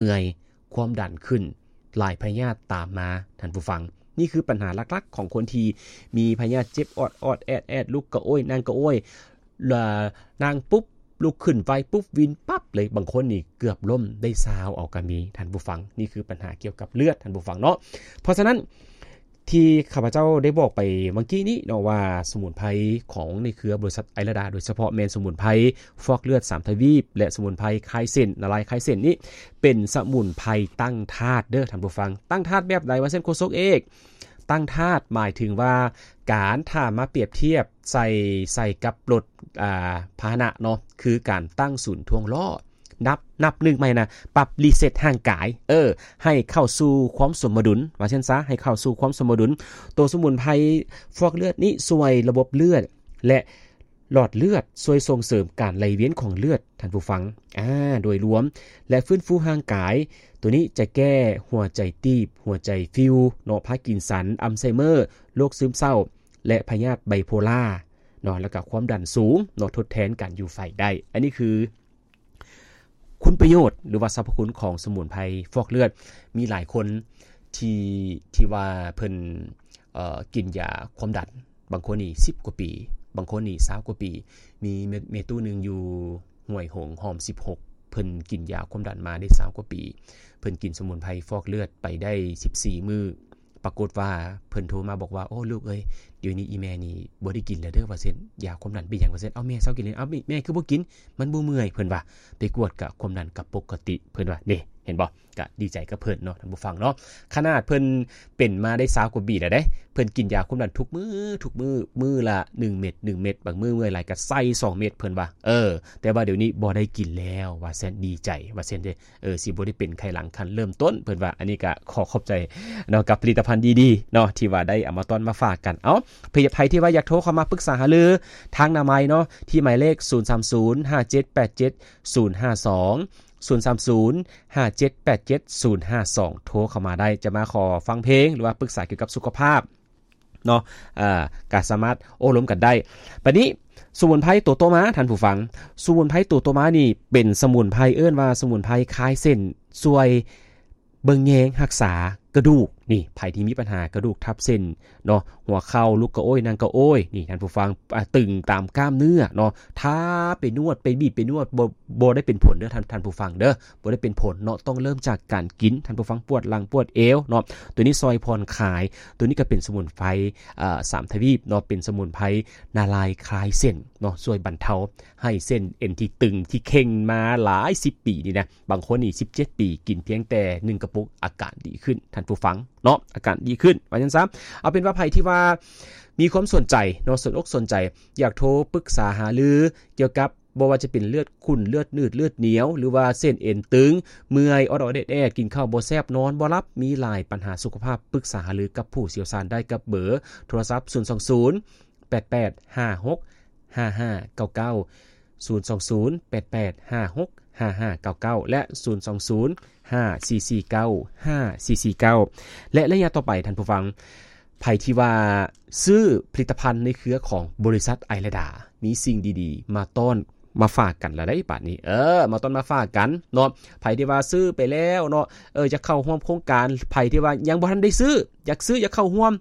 ເມື່ອຍ ຄວາມດັນຂຶ້ນ ຫຼາຍພະຍາດຕາມມາ ທ່ານຜູ້ຟັງ. ນີ້ຄືບັນຫາຫຼັກໆຂອງຄົນທີ່ມີພະຍາດເຈັບອອດໆແອດໆ ລຸກກະໂອ້ຍ ນັ່ງກະໂອ້ຍ ລະ ນັ່ງປຸບ ລຸກຂຶ້ນໄວປຸບ ວິນປັບເລີຍ. ບາງຄົນນີ້ເກືອບລົ້ມໄດ້ຊາວເອົາກະມີ ທ່ານຜູ້ຟັງ. ນີ້ຄືບັນຫາກ່ຽວກັບເລືອດ ທ່ານຜູ້ຟັງເນາະ. ເພາະສະນັ້ນ ທີ່ຂ້າພະເຈົ້າໄດ້ບອກໄປຫວ່າງກີ້ນີ້ເນາະ ວ່າສະໝຸນໄພຂອງໃນເຄືອບໍລິສັດໄອລະດາ ໂດຍສະເພາະແມ່ນສະໝຸນໄພຟອກເລືອດສາມທະວີບ ແລະ ສະໝຸນໄພຄາຍເສັ້ນ ນາລາຍຄາຍເສັ້ນນີ້ ເປັນສະໝຸນໄພຕັ້ງທາດເດີ້ ທ່ານຜູ້ຟັງ. ຕັ້ງທາດແບບໃດ ວ່າຊັ້ນໂຄສົກເອກ? ຕັ້ງທາດໝາຍເຖິງວ່າ ການ ຖ້າມາປຽບທຽບໃສ່ ໃສ່ກັບລົດ ອ່າ ພາຫະນະເນາະ ຄືການຕັ້ງສູນຖ່ວງລໍ້ ນັບ ນັບໜຶ່ງໃໝ່ນະ ປັບ ຣີເຊັດຮ່າງກາຍ ເອີ ໃຫ້ເຂົ້າສູ່ຄວາມສົມມະດຸນ ວ່າຊັ້ນຊະ ໃຫ້ເຂົ້າສູ່ຄວາມສົມມະດຸນ. ໂຕສະໝຸນໄພຟອກເລືອດນີ້ຊ່ວຍລະບົບເລືອດ ແລະ ຫຼອດເລືອດ ຊ່ວຍສົ່ງເສີມການໄຫຼວຽນຂອງເລືອດ ທ່ານຜູ້ຟັງ ອາ ໂດຍລວມ ແລະ ຟື້ນຟູຮ່າງກາຍ. ໂຕນີ້ຈະແກ້ຫົວໃຈຕີບ ຫົວໃຈຟີວເນາະ ພາກິນສັນ ອັລໄຊເມີ ໂລກຊຶມເສົ້າ ແລະ ພະຍາດໄບໂພລາເນາະ ແລ້ວກະຄວາມດັນສູງເນາະ ທົດແທນການຢູ່ໄຟໄດ້. ອັນນີ້ຄື ຄຸນປະໂຫຍດ ຫຼືວ່າສັບພະຄຸນຂອງສະໝຸນໄພຟອກເລືອດ. ມີຫຼາຍຄົນທີ່ ທີ່ວ່າເພິ່ນ ເອີ ກິນຢາຄວາມດັນ ບາງຄົນນີ້ສິບກວ່າປີ ບາງຄົນນີ້ຊາວກວ່າປີ. ມີແມ່ ແມ່ຕູ້ໜຶ່ງຢູ່ຫ້ວຍຫົງ ຮ່ອມສິບຫົກ ເພິ່ນກິນຢາຄວາມດັນມາໄດ້ຊາວກວ່າປີ ເພິ່ນກິນສະໝຸນໄພຟອກເລືອດໄປໄດ້ສິບສີ່ມື້. ປາກົດວ່າເພິ່ນໂທມາບອກວ່າ ໂອ້ ລູກເອີຍ ດຽວນີ້ອີ່ແມ່ນີ້ບໍ່ໄດ້ກິນແລ້ວເດີ້ ວ່າຊັ້ນ ຢາຄວາມດັນ. ເປັນຫຍັງ ວ່າຊັ້ນ. ເອົ້າ ແມ່ເຊົາກິນແລ້ວ. ເອົ້າ ແມ່ ແມ່ຄືບໍ່ກິນ? ມັນບໍ່ເມື່ອຍ ເພິ່ນວ່າ. ໄປກວດກະຄວາມດັນກະປົກກະຕິ ເພິ່ນວ່າ. ນີ້ ເຫັນບໍ່? ກະດີໃຈກັບເພິ່ນເນາະ ທ່ານຜູ້ຟັງເນາະ. ຂະໜາດເພິ່ນເປັນມາໄດ້ຊາວກວ່າປີແລ້ວເດ້ ເພິ່ນກິນຢາຄວາມດັນທຸກມື້ ທຸກມື້ ມື້ລະໜຶ່ງເມັດ ໜຶ່ງເມັດ ບາງມື້ເມື່ອຍຫຼາຍກະໃສ່ສອງເມັດ ເພິ່ນວ່າ. ເອີ ແຕ່ວ່າດຽວນີ້ບໍ່ໄດ້ກິນແລ້ວ ວ່າຊັ້ນ. ດີໃຈ ວ່າຊັ້ນເດ້. ເອີ ຊິບໍ່ໄດ້ເປັນໄຂ້ຫຼັງຂັ້ນເລີ່ມຕົ້ນ ເພິ່ນວ່າ. ອັນນີ້ກະຂໍຂອບໃຈເນາະ ກັບຜະລິດຕະພັນດີໆເນາະ ທີ່ວ່າໄດ້ເອົາມາຕ້ອນມາຝາກກັນ. ເອົ້າ ໃຜ ໃຜທີ່ວ່າຢາກໂທເຂົ້າມາປຶກສາຫາລືທາງໜ້າໄມເນາະ ທີ່ໝາຍເລກ ສູນສາມສູນ ຫ້າເຈັດແປດເຈັດ ສູນຫ້າສອງ ສູນສາມສູນ ຫ້າເຈັດແປດເຈັດ ສູນຫ້າສອງ ໂທເຂົ້າມາໄດ້. ຈະມາຂໍຟັງເພງ ຫຼືວ່າປຶກສາກ່ຽວກັບສຸຂະພາບ ເນາະ ເອີ ກະສາມາດໂອ້ລົມກັນໄດ້. ບາດນີ້ ສະໝຸນໄພໂຕຕໍ່ມາ ທ່ານຜູ້ຟັງ ສະໝຸນໄພໂຕຕໍ່ມານີ້ເປັນສະໝຸນໄພ ເອີ້ນວ່າສະໝຸນໄພຄາຍເສັ້ນ ຊ່ວຍເບິ່ງແຍງຮັກສາກະດູກ. ນີ້ ໃຜທີ່ມີບັນຫາກະດູກທັບເສັ້ນເນາະ ຫົວເຂົ່າ ລຸກກະໂອ້ຍ ນັ່ງກະໂອ້ຍ ນີ້ ທ່ານຜູ້ຟັງ ອາ ຕຶງຕາມກ້າມເນື້ອເນາະ ຖ້າໄປນວດ ໄປບີບ ໄປນວດ ບໍ່ ບໍ່ໄດ້ເປັນຜົນເດີ້ ທ່ານ ທ່ານຜູ້ຟັງເດີ້. ບໍ່ໄດ້ເປັນຜົນເນາະ ຕ້ອງເລີ່ມຈາກການກິນ ທ່ານຜູ້ຟັງ. ປວດຫຼັງປວດເອວເນາະ ໂຕນີ້ຊ່ອຍຜ່ອນຄາຍ. ໂຕນີ້ກະເປັນສະໝຸນໄພ ເອີ ສາມທະວີບເນາະ ເປັນສະໝຸນໄພນາລາຍຄາຍເສັ້ນເນາະ ຊ່ວຍບັນເທົາໃຫ້ເສັ້ນເອັນທີ່ຕຶງທີ່ເຄັ່ງມາຫຼາຍສິບປີນີ້ນະ ບາງຄົນນີ້ສິບເຈັດປີ ກິນພຽງແຕ່ໜຶ່ງກະປຸກ ອາການດີຂຶ້ນ ທ່ານຜູ້ຟັງເນາະ ອາການດີຂຶ້ນ ວ່າຊັ້ນຊະ. ເອົາເປັນວ່າໃຜທີ່ວ່າມີຄວາມສົນໃຈເນາະ ສົນອົກສົນໃຈ ຢາກໂທປຶກສາຫາລືກ່ຽວກັບ ບໍ່ວ່າຈະເປັນເລືອດຂຸ້ນ ເລືອດໜືດ ເລືອດໜຽວ ຫຼືວ່າເສັ້ນເອັນຕຶງ ເມື່ອຍ ອອດໆແອດໆ ກິນເຂົ້າບໍ່ແຊບ ນອນບໍ່ຫຼັບ ມີຫຼາຍບັນຫາສຸຂະພາບ ປຶກສາຫາລືກັບຜູ້ຊ່ຽວຊານໄດ້ກັບເບີໂທລະສັບ ສູນສອງສູນ ແປດແປດຫ້າຫົກຫ້າຫ້າເກົ້າເກົ້າ ສູນສອງສູນ ແປດແປດຫ້າຫົກຫ້າຫ້າເກົ້າເກົ້າ ແລະ ສູນສອງສູນ ຫ້າສີ່ສີ່ເກົ້າ ຫ້າສີ່ສີ່ເກົ້າ. ແລະ ໄລຍະຕໍ່ໄປ ທ່ານຜູ້ຟັງ ໃຜທີ່ວ່າຊື້ຜະລິດຕະພັນໃນເຄືອຂອງບໍລິສັດໄອລະດາ ມີສິ່ງດີໆມາຕ້ອນມາຝາກກັນລະໄດ໋ບາດນີ້ ເອີ ມາຕ້ອນມາຝາກກັນເນາະ. ໃຜທີ່ວ່າຊື້ໄປແລ້ວເນາະ ເອີ ຢາກເຂົ້າຮ່ວມໂຄງການ ໃຜທີ່ວ່າຍັງບໍ່ທັນໄດ້ຊື້ ຢາກຊື້ ຢາກເຂົ້າຮ່ວມ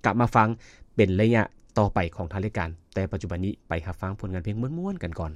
ກັບມາຟັງເປັນໄລຍະຕໍ່ໄປຂອງທາງລາຍການ. ແຕ່ປັດຈຸບັນນີ້ໄປຮັບຟັງຜົນງານເພງມ່ວນໆກັນກ່ອນ.